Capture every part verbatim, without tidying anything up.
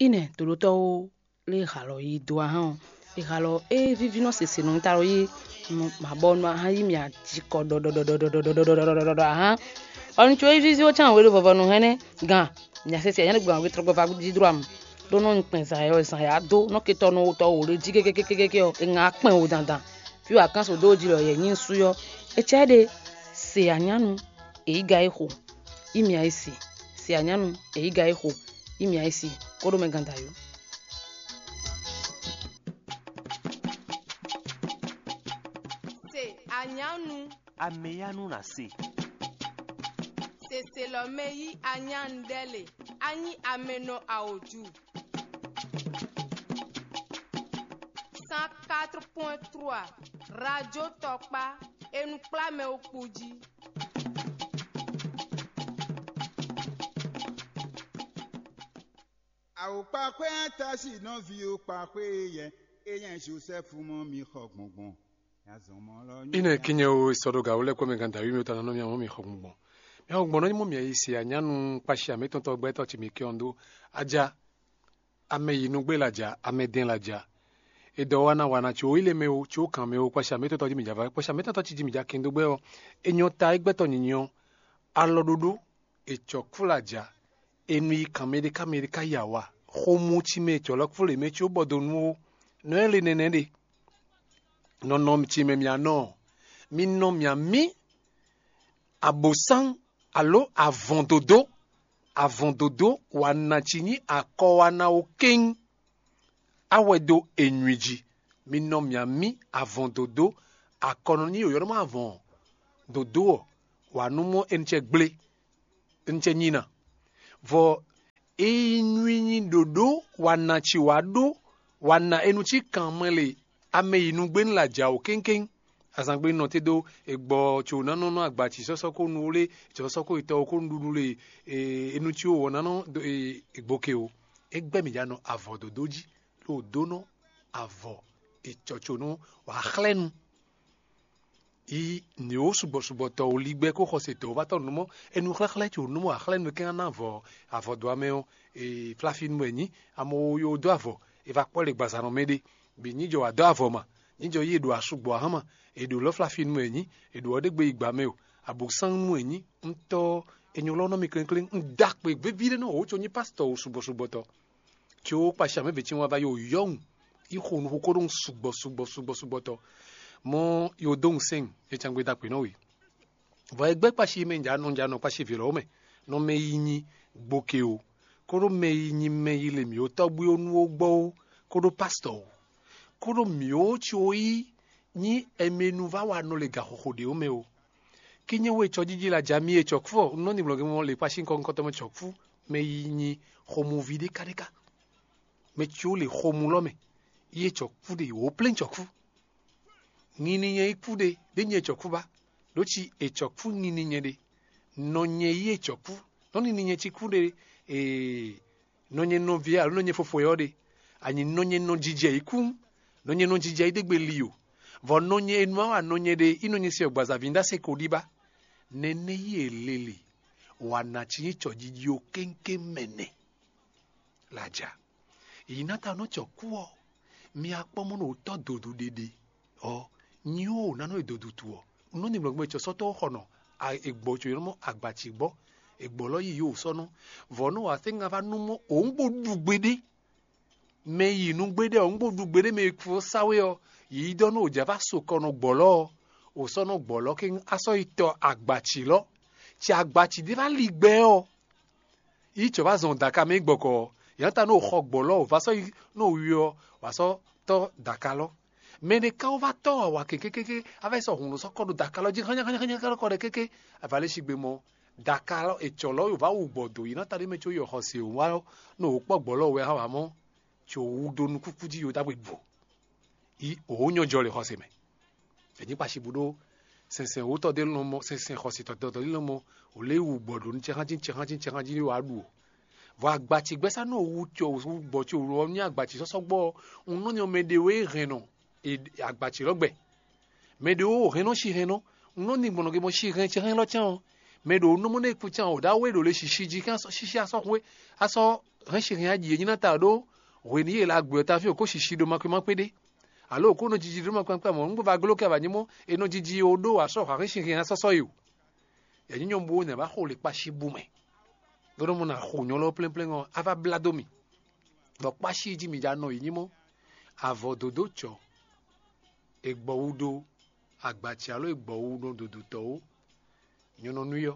Ínɛ toɖótɔ́ ó lé halɔ yi do ahán ɔ́, è halɔ é víví nɔ sese nɔ ta lɔ yi mabɔ nɔ ahán yi mì ajikɔ ɖɔɖɔɖɔɖɔɖɔɖɔɖɔɖɔɖɔɖɔɖɔɖɔ ahán. Ɔnu tso yi víví ó cán wéɖo vɔvɔ nɔ hɛn nɛ́ gan mì asese anyá ɖé gbe wétrɔgbɔ va jí dro amu ɖó nɔ kpɛn zan yɔ zan ya dó nɔ ketɔ nɔ wotɔ wò ɖé jí kékékékéké ɔ́, è ŋa kpɛn wò dandan. Fí wǎ kán so dó jí lɔ yɛ nyí sú yɔ. Ecɛ́ ɖe se anyánu èyíga é xo. Imi ayisi se anyánu èyíga é xo. Imi ayisi kóɖó mɛ gandayó. Se anyánu. Ameyanu na se. Seselɔmɛ yí anyánu ɖɛ le. Anyi amɛnɔ aoju. Cent quatre point trois. Radio Tɔkpa. Enu kplá mɛ ó kpó jí. Awokpaxwé Atasi nɔví o kpaxwé yɛ, é nyɛ Josɛ́fu mɔ mi xɔ gbɔngbɔn. Ínɛ kínyɛ o sɔɖo gǎ wú lɛ́ kpɔ́ mɛ gán dǎwí mi ta nɔ mì amɔ́ mi xɔ gbɔngbɔn. Mi xɔ gbɔngbɔn nɔ nyí mɔ mì yi se anyánu kpashi amɛtɔntɔ gbɛtɔ́ ci mi kɛ ɔn dó. Aja, amɛ yi nugbe la ja, amɛ dɛn la ja. Edɔ wana wana tso ile mɛ o, tso kan mɛ o, kpashi amɛtɔntɔ ji mi ja va, kpashi amɛtɔntɔ ci ji mi ja kɛn dó gbɛ ɔ. Enyɔ ta egbɛtɔ nyinyi ɔ, alɔ ɖoɖo, ecɔ kú la ja. Enu yi kan mɛ ɖé ká mɛ ɖé ká ya wa. Xomú ci mɛ ecɔ lɔ kú le mɛ tso bɔ do nú o. Nɔ ɛ le nɛnɛ ɖe. Nɔnɔ ci mɛ mia nɔ, mi nɔ mia mí abosán alo avɔn dodó. Avɔn dodó wa na ci nyí akɔ wa na wo kéŋ. Awɛ dó enywi jí. Mi nɔ mia mí avɔn dodó. Akɔ nɔ nyí yɔyɔ́ nɔ mɔ avɔn dodó ɔ, wa nú mɔ e nú cɛ gblé, e nú cɛ nyí ná. Vɔ ényí nú nyi ɖoɖó wa na ci wa ɖó wa na e nú cí kanmɛ le. Amɛ yi nugbe nú la ja o kéŋkéŋ. Azangbe nɔ te dó egbɔ tso ná nɔ nɔ agba ci sɔsɔ ko nu le, sɔsɔ ko itɔ ko nu ɖuɖu le. Enu ci o wɔ ná nɔ egboke o. Egbɛ mi ja nɔ avɔ dodo jí, ɖo dó nɔ avɔ ecɔco nɔ wǎ xlɛ́ nu. Yi nǐ ó sugbɔ sugbɔ tɔ wò ligbɛ kó xɔsetɔ́ wó va tɔ́ nǔ mɔ. Enu xlɛ́xlɛ́ ce wò nú mɔ axlɛ́ nu kɛn ná vɔ avɔ dó amɛ ɔ́, flafínu wɛ nyí. Amo wo yo dó avɔ, è va kpɔ́ le gbazanɔ mɛ ɖé. Bǐ nyí jɔ wǎ dó avɔ ma, nyí jɔ yí è ɖo asugbɔ ahán ma. È ɖo lɔ́ flafínu wɛ nyí, è ɖo ɔ́ ɖé gbe yi gbǎ mɛ o. Abǒsánnu wɛ nyí. Un tɔ́, è nyo lɔ́ nɔ mì klénkléŋ. Un dó akpe gbéví ɖé nɔ wǒ co nyí pásítɔ wò sugbɔ sugbɔ tɔ. Tso kpashi amɛ vě ce wá va yi wǒ yɔ́hun, yi xo nuxu kó ɖó sugbɔ sugbɔ sugbɔ sugbɔ tɔ. Mɔ yo dó ŋusɛn, e can gbe da kpě nɔ we. Vɔ e gbɛ́ kpashi mɛ nja nɔ nja nɔ kpashi vǐ lɔ́ mɛ, nɔ mɛ yi nyi gboke o, kóɖó mɛ yi nyi mɛ yi le mǐ ó tɔ́gbui ó nú ó gbɔ ó, kóɖó pásítɔ o, kóɖó mǐ ó ci ó yí nyí ɛmɛnu va wa nɔ le gaxoxo ɖě ó mɛ o. Kí nyɛ wɛ cɔjíjí la ja mì e cɔkfú ɔ, un nɔ ni blɔgɛ mɔ le kpashi ŋkɔ ŋkɔtɔ mɛ cɔkfú, mɛ yi nyi xɔmuví ɖé káɖéká. Mɛ ci ó le xɔmu lɔ mɛ, yi e cɔkfú ɖe wǒ plɛ́n cɔkfú. Ŋini nyɛ yi kú ɖe, ɖé nyɛ cɔkfú ba, ɖó ci e cɔkfú ŋini nyɛ ɖe. Nɔ nyɛ yi e cɔkfú, nɔ ni nyɛ ci kú ɖe. Ee, nɔ nyɛ nɔví alo nɔ nyɛ fofo yɔ ɖe. Anyi nɔ nyɛ nɔ jijɛ yi kú, nɔ nyɛ nɔ jijɛ yi ɖégbe li o. Vɔ nɔ nyɛ enu awa nɔ nyɛ ɖe, i nɔ nyɛ se ɔgbazaví nda se ko ɖi ba. Nɛnɛ yi e lele, wa na ci nyí cɔjiji o kéŋkéŋ mɛ nɛ. Laja, yi na ta nɔ cɔ kú ɔ, mi akpɔ mɔ nɔ tɔ dodu ɖeɖe ɔ, nyi o na nɔ e dodu tu ɔ. Nɔ ni mlɔgbɛ cɔ sɔtɔ xɔ nɔ egbɔ co yɔnɔ mɔ agbatsi gbɔ. Egbɔ lɔ yi yo sɔ nɔ. Vɔ nɔ wa se ŋa va nu mɔ òun gbo ɖu gbeɖe. Mɛ yi nu gbeɖe ɔ, un gbo ɖu gbeɖe mɛ e kú sawe ɔ, yi dɔ nɔ òjá va so kɔ nɔ gbɔlɔ ɔ, o sɔ nɔ gbɔlɔ ke asɔ yi tɔ agbatsi lɔ. Ci agbatsi ɖe va li gbɛ ɔ, yi tsɔ va zɔn daka mɛ gbɔkɔ ɔ, yǎ ta nɔ xɔ gbɔlɔ ɔ, va sɔ yi nɔ wi ɔ, wa sɔ tɔ daka lɔ. Mɛ ɖé ka wó va tɔ awa kékékéké, a va yi sɔ hǔn ɖo sɔ kɔ ɖo daka lɔ jí hánnyá hánnyá hánnyá kɔ ɖe kéké, a va lé sigbe mɔ daka lɔ etsɔ lɔ yǒ va wu gbɔ do yi ná ta ɖé mɛ có yi xɔse wá nɔ wò kpɔ gbɔ lɔ wɛ hã wǎ mɔ, tso wú dó nú kúkú jí yǒ dagbe bǔ. Yi òwò nyɔ jɔ le xɔse mɛ. Vɛ nyí kpashi bú ɖó sɛnsɛn wótɔ ɖé lɔmɔ, sɛnsɛn xɔsetɔ dɔdɔ ɖé lɔmɔ, wò lé wu gbɔ ɖo nu cɛxánjí cɛxánjí cɛxánjí wá ɖu o. Vɔ agbatsi gbɛ́sá nɔ wu tso wu gbɔ tso wlɔ ní agbatsi sɔsɔ gbɔ ɔ, un nɔ nyɔ mɛ ɖé wé hɛn nɔ agbatsi lɔ gbɛ. Mɛ ɖé wó hɛn nɔ si hɛn nɔ, un nɔ ní gbɔnɔ ge mɔ si hɛn cɛ hɛn lɔ cɛn ɔ. Mɛ ɖo nɔ mɔ nɛ kú cɛn ɔ, ɖa wé ɖo le sisi jí kɛn sisi asɔ hwe asɔ hɛn si hɛn aji e nyí ná ta ɖó hwenu e la gbɛ ta fí o kó sisi ɖo makwe ma kpéɖé, alo o kó nɔ jiji ɖó makwe ma kpé mɔ̌ un gbé va gló kɛ wǎ nyí mɔ́ e nɔ jiji o ɖó wǎ sɔ́ hwǎ hɛn si hɛn asɔ́sɔ́ e o. Yɛ nyí nyɔ̌nu bó nɛ wá xo le kpási bú mɛ. Ɖó nɔ mɔ nà xo nyɔ̌ lɔ plɛ́nplɛ́n ɔ́, á vá blá dó mì. Bɔ kpási jí mi ja nɔ yi nyí mɔ́. Avɔ dǒdó cɔ̌, è gbɔ wú ɖó agbaci alo è gbɔ wú nɔ dodotɔ́ ó. Nyɔ̌nu nú yɔ,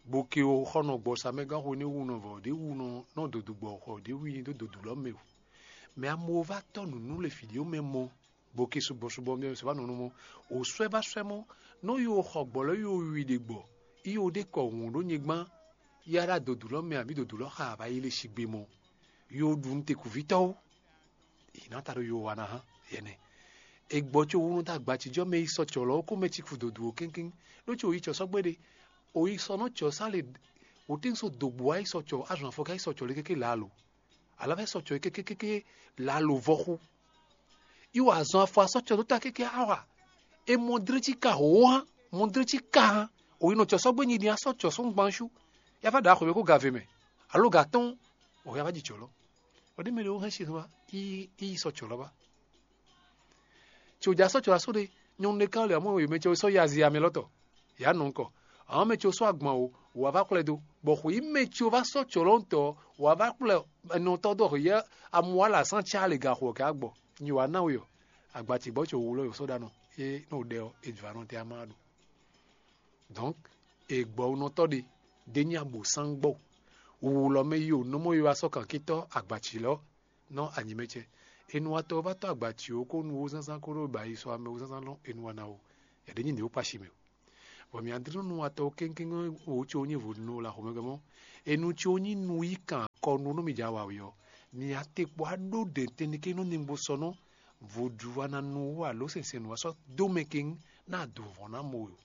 bó ke o xɔ nɔ gbɔ sa mɛ gán xo ní wu nɔ vɔ ɖě wu nɔ nɔ dodo gbɔ xɔ ɖě wu nyi dó dodo lɔ mɛ o. Mɛ amewo vá tɔ́ nǔnú le fǐ ɖé mɛ mɔ, bó ke sugbɔ sugbɔ mɛ sɔ vá nɔ nɔ mɔ. O swɛ vá swɛ mɔ, nɔ yi o xɔ gbɔ lɔ yi o wi ɖe gbɔ, yi o ɖe kɔ hǔn ɖó nyigban, yi a ɖo dodo lɔ mɛ abǐ dodo lɔ xa a vá yi le sigbe mɔ, yi o ɖu nú tekuvítɔ́ ó. Yě ná ta ɖo yo wa ná hán yɛnɛ. È gbɔ có wú nú dó agbacijɔ mɛ yi sɔ cɔ̌ lɔ kó mɛ ci kú dǒdú ó kɛ́nkɛ́n, ɖó có yi cɔ̌ sɔ́ gbé ɖe. O yi sɔ nɔ cɔ̌ sá le wǒtín so dǒgbó wá yi sɔ cɔ̌ azɔn afɔ ká yi sɔ cɔ̌ le kéké lǎ lo. Alɔ vɛ́ sɔ cɔ̌ kékékéké lǎ lo vɔ́ xú. Yi wa azɔn afɔ asɔ cɔ̌ dó ta kéké awa. E mɔ dlé cí ka hǒ hán, mɔ dlé cí ka hán. O yi nɔ cɔ̌ sɔ́ gbé nyi din asɔ cɔ̌ sɔ́ gbán sú. Ya vá ɖǎ xwě kó gave mɛ. Alo gǎ tɔn, o ya vá ji cɔ̌ lɔ. Ɔ ɖi mɛ ɖe wo hɛn si hɛn wá, yi yi sɔ cɔ̌ lɔ ba. Tso ja sɔ cɔ̌ asó ɖe, nyɔnu ɖé ká lɛ amɔ yě mɛ ce sɔ yi azi amɛ lɔtɔ. Yě anɔ ŋkɔ. Àwọn mɛ ce sɔ agban o, wò a vá xwlɛ dó. Bɔ xwǐ mɛ ce va sɔ cɔ̌ lɔ ŋutɔ, wò a vá xwlɛ ɛnɔtɔ dó xwǐ yɛ amu wa la sán cá lě ga xɔ kɛ agbɔ. Nyi wǎ ná we ɔ, agbacigbɔ ce wò wlɔ yǒ sɔ ɖa nɔ, é nɔ ɖɛ ɔ, é jɔ anɔ tɛ ama ɖo. Donc, e gbɔunɔtɔ́ ɖe, ɖé nyi abǒsángbɔ. Wǔwlɔ́ mɛ yi o nɔmɔ yi wá sɔ́ kankitɔ́ agbaci lɔ nɔ anyimɛcɛ. Enúwatɔ́ ɔ́ vá tɔ́ agbaci ó kó nu wú zánzán kó ɖó ba yi sɔ amɛ wú zánzán lɔ enúwana ó. Yɛ ɖě nyi nǐ ó kpa si mɛ o. Bɔ mǐ adlínúnúwatɔ́ kéŋkéŋ wǒ tso nyí vodúnú la xomɛgɔ́ mɔ́. Enu tso nyí nu yi kan akɔnu nú mi ja wa wě ɔ́, mi atekpo aɖó ɖɛ̌ntɛ́nniké nú ningbo sɔ nɔ vodúwana nu wú alo sɛnsɛn nu wá sɔ́ dó mɛ kéŋ ná adǔnvɔ́n ná mɔ we o.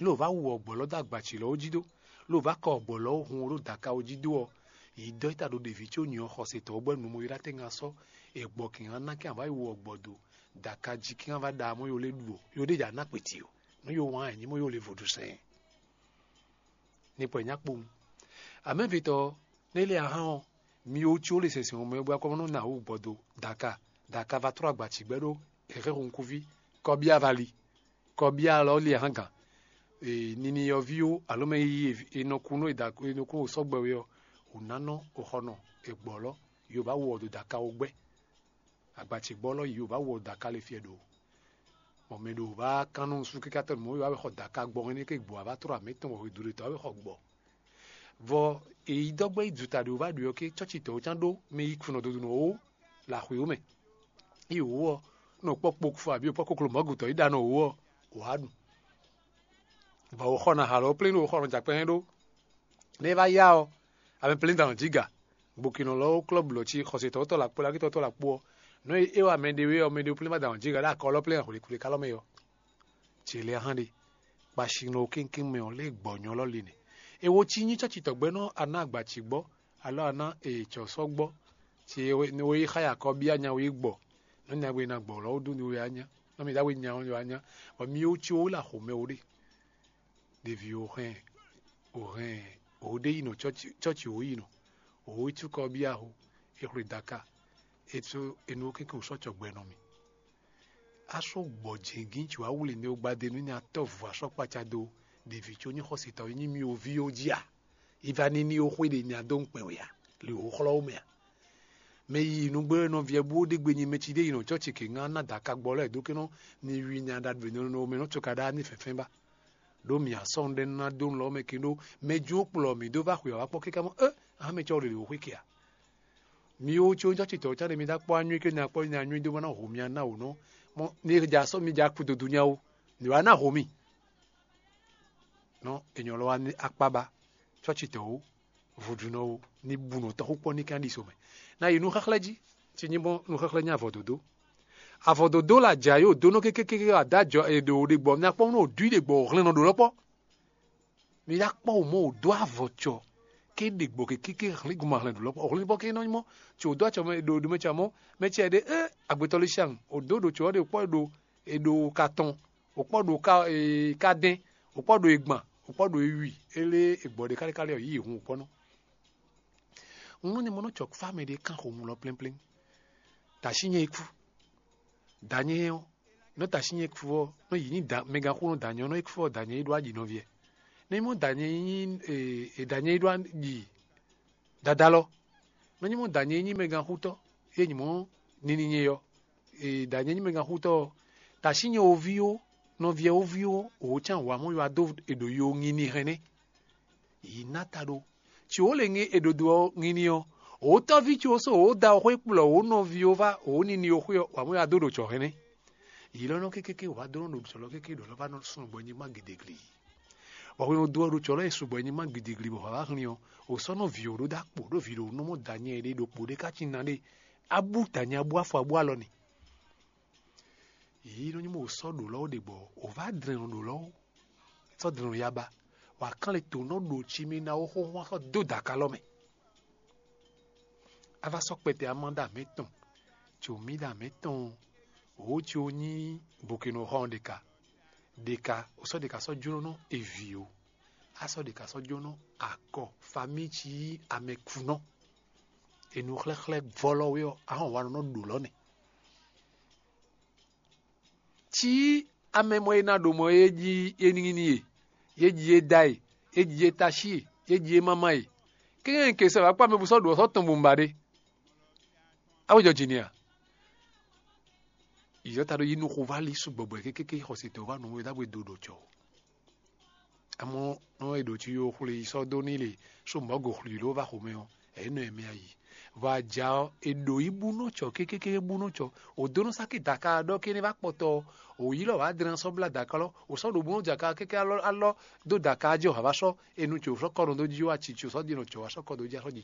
Ló vá wu ɔgbɔ̌ lɔ dó agbaci lɔ jí dó, ló vá kɔ ɔgbɔ̌ lɔ hun ɖó daka jí dó ɔ́, yi dɔ́ ta ɖo ɖeví có nyɔ xɔsetɔ́ bɔ nu mo ylá tɛ́ ŋa sɔ́, è gbɔ kɛn ná ná kɛn avá yi wu ɔgbɔ̌ dó daka jí kɛn vá ɖa mɔ yó lé ɖu ɔ, yó ɖé dza ná kpeti o, nú yó wán ɛ nyí mɔ yó lé vodúsɛn. Ní pɔ nya kpowun. Amɛvitɔ, nélé ahán ɔ́, mi ó có le sɛnsɛn ɔ́ mɛ bɔ akɔmɔ nɔ ná wú gbɔdo daka daka va trɔ agbaci gbɛ ɖó hɛhɛ hunkuvi kɔbia vali. Kɔbia lɔ li ahán gan. Nini yɔví ó alo mɛ yiyi e nɔ kú nɔ e da e nɔ kú o sɔgbɛ we ɔ́, o ná nɔ o xɔ nɔ e gbɔ lɔ, yo ba wɔ do daka o gbɛ. Agbaci gbɔ lɔ yi o ba wɔ daka le fiɛ ɖo. Bɔ mɛ ɖo ba kan nɔ su kika tɔn mɔ yo ba xɔ daka gbɔ hɛn ke gbɔ a ba trɔ amɛ tɔn wɔ hwedu ɖe tɔ a bɛ xɔ gbɔ. Vɔ èyí dɔgbe yi duta ɖe o ba ɖu ɔ́ ke cɔci tɔ o can ɖó mɛ yi kunɔ dodo nɔ o la xwe o mɛ. Yi o ɔ nɔ kpɔ kpokufɔ abi o kpɔ koklo mɔgutɔ yi ɖa nɔ o ɔ o wa ɖu. Vɔ o xɔ na halɔ plɛn o xɔ nɔ jakpɛ hɛn ɖó. Ne e va ya ɔ, ame plɛ́n dan jí ga. Gbokinɔ lɔ ó klɔ́ blɔ̌ cí xɔsetɔ́tɔ́ la kpó lakítɔ́tɔ́ la kpó ɔ́, nɔ́ e é wá mɛ ɖé wé ɔ́, mɛ ɖé plɛ́n ma dan jí ga ɖó akɔ lɔ plɛ́n hwlǐkúlí ká lɔ mɛ ɔ́. Cě lɛ́ɛ hán ɖe, kpasinɔ kéŋkéŋ mɛ ɔ́ lé gbɔ̌nyɔ́ lɔ li nɛ. É wó cí nyí cɔ́citɔ́ gbɛ́ nɔ́ a ná agbaci gbɔ, alo a ná ecɔ̌ sɔ́ gbɔ, ce é wé xá yi akɔ byá nya wé gbɔ, nɔ́ nyagbe ná gbɔ lɔ ó dó ni wé á nya, nɔ́ mi ɖá we nya ɔ́ wá nya, bɔ mi ó cí ó wé la xomɛ ó ɖe. Ɖevi o hɛn o hɛn o ɖe yi nɔ cɔ́ci o yi nɔ o yi cukɔ bia ho e xwle daka e tso enu keke o sɔ cɔgbɛ nɔ mi. A sɔ gbɔ jɛngin tso awuli ne o gbade nu nya tɔ vu asɔ kpaca do ɖevi tso nyi xɔsetɔ yi nyi mi o vi o ji a? I va ni ni o xwe ɖe nya do ŋkpɛn o ya le o xlɔ o mɛ a? Mɛ yi nugbe nɔviɛ bú ɖe gbe nyi mɛ ci ɖe yi nɔ cɔ́ci ke ŋá ná daka gbɔ lɛ́ɛ dó ké nɔ ni wi nya ɖagbe nɔ mɛ nɔ tso ka ɖá ní fɛnfɛn ba. Ɖó mǐ asɔ́nu ɖé ná dó lɔ mɛ ke ɖó mɛ jó kplɔ mǐ dó va xwe ɔ́ wá kpɔ́ káká mɔ é ahan mɛ cɔ́ ɖe ɖo xwé ke a? Mi ó có cɔ́citɔ cán ɖe mi dá kpɔ́ anyú ke nya kpɔ́ nya nyú dó bɔ ná ho mia ná wǒ nɔ mɔ mi ja sɔ́ mi ja kú dodo nya ó, nǔ wá ná ho mi. Nɔ ènyɔ lɔ wá ní akpá ba cɔ́citɔ ó, vodúnɔ ó, ní bu nɔ tɔ́xú kpɔ́ ní kán ɖi so mɛ. Ná yi nú xáxlɛ́ jí, ci nyí bɔ nú xáxlɛ́ nyí avɔ dǒdó. Avɔ dǒdó la jǎ yó dó nɔ kékékéké adájɔ è ɖo ɖe gbɔ mi akpɔ́ nú òdú ɖe gbɔ òhlɛn nɔ ɖo lɔkpɔ. Mi dá kpɔ́ wò mɔ wò dó avɔ cɔ ké ɖe gbɔ kékéké hlín gun ma hlɛn ɖo lɔkpɔ òhlɛn bɔ ké nɔ nyí mɔ, tso wò dó acɔ mɛ ɖo ɖo mɛ cɔ mɔ mɛ cɛ ɖe é agbetɔ lé sian wò dó ɖo cɔ ɖe kpɔ ɖo è ɖo ka tɔn, wò kpɔ ɖo ka ee ka dɛn, wò kpɔ ɖo e gban, wò kpɔ ɖo e wi, é lé e gbɔ ɖe kálékálé ɔ yí yě hun wò kpɔ́ nɔ. Un nɔ nyɛ mɔ nɔ cɔ kpá mɛ ɖé kán xomú lɔ plɛ́nplɛ́n. Tashi nyɛ é kú. Danyɛ ɔ́, nɔ tashi nyɛ kú ɔ́, nɔ yi ní da mɛgán xú nɔ danyɛ ɔ́, nɔ é kú ɔ́ danyɛ é ɖó ayi nɔviɛ. Nɔ nyɛ mɔ danyɛ é nyí e danyɛ é ɖó ayi dadalɔ. Nɔ nyɛ mɔ danyɛ é nyí mɛgán xútɔ, yé nyí mɔ nini nyɛ ɔ́, e danyɛ é nyí mɛgán xútɔ ɔ́, tashi nyɛ oví ó, nɔviɛ oví ó, òwò cán wǎ mɔ yɔ adó è ɖo yo nyi ní hɛn nɛ́. Yi ná ta ɖó. Tsi wǒ le ŋe è ɖo do ɔ́ ŋini ɔ́, wǒtɔ́ví tsi wǒ sɔ́ wǒ da ɔ́ xwé kplɔ́ wǒ nɔví ó vá wǒ nini ó xwé ɔ́, wǎ mɔ ya dó ɖo jɔ̌ hɛnɛ́. Yi lɔ nɔ kékéké wǎ dó nɔ ɖo sɔlɔ kéké ɖɔ lɔ vá nɔ sún gbɔ nyigban gidigli. Bɔ hwenu dó ɔ́ ɖo tsɔlɔ e sugbɔ nyigban gidigli bɔ hwǎ wá hlin ɔ́, wǒ sɔ́ nɔ vǐ ó ɖó dó akpo ɖó vǐ ɖo nɔ mɔ danyɛ ɖé ɖokpo ɖé ká cí ná ɖé. Abú danyɛ abú afɔ abú alɔ ni. Yě nɔ nyí mɔ wǒ sɔ́ ɖǒ lɔ́ ó ɖe gbɔ, wǒ vá dlɛn ɔ́ ɖǒ lɔ́ ó. Sɔ́ dlɛn ɔ́ ya ba, wǎ kán le tǒ nɔ ɖo tsi mɛ ná ó xóxó sɔ́ dó dǎkalɔ mɛ. A vá sɔ́ kpɛtɛ amá ɖo amɛ tɔn, tso mí ɖo amɛ tɔn, wǒ tso nyí bukino xɔ́n ɖeka ɖeka, wǒ sɔ́ ɖeka sɔ́ jló nú eví ó. A sɔ́ ɖeka sɔ́ jló nú akɔ famí cí amɛkunɔ. Enu xlɛ́xlɛ́ vɔ́lɔ́ wé ɔ́, a hɔn wa nɔ ɖo lɔ́ nɛ. Cí amɛ mɔ e ná ɖo mɔ e jí é ní ní e, yé jí é da e, yé jí é taxi e, yé jí é mama e. Kéŋɛ́ ke sɛ wǎ kpá mɛ bú sɔ́ ɖu ɔ́ sɔ́ tɔn bó un ba ɖé. Á wé jɔ jǐ n'i a? Yǐzɔ́ta ɖó yí nú xoválí sugbɔgbɔ kékéké xɔsitɔ́ wá nǔ e ɖagbe do ɖo jɔ. Amɔ̌ nɔ e ɖo jí yó xwle yi sɔ́ dó n'i le, só mɔ̌ go xwlǐ ló va xomɛ ɔ́, é nɔ ɛmɛ ayi. Vɔ aja ɔ́, è ɖǒ yi bú nɔ cɔ kékéké bú nɔ cɔ. Ò dó nɔ sáké daka ɖɔ kéne vá kpɔtɔ ɔ́, ò yi lɔ wǎ dlɛ́n sɔ́ blá daka lɔ, ò sɔ́ ɖo bú nɔ jaka kéké alɔ alɔ dó daka jí ɔ́ hǎ vá sɔ́, è nú cǒ sɔ́ kɔ nɔ dó jí wá ci cǒ sɔ́ ɖi nɔ cǒ wá sɔ́ kɔ dó jí sɔ́ jí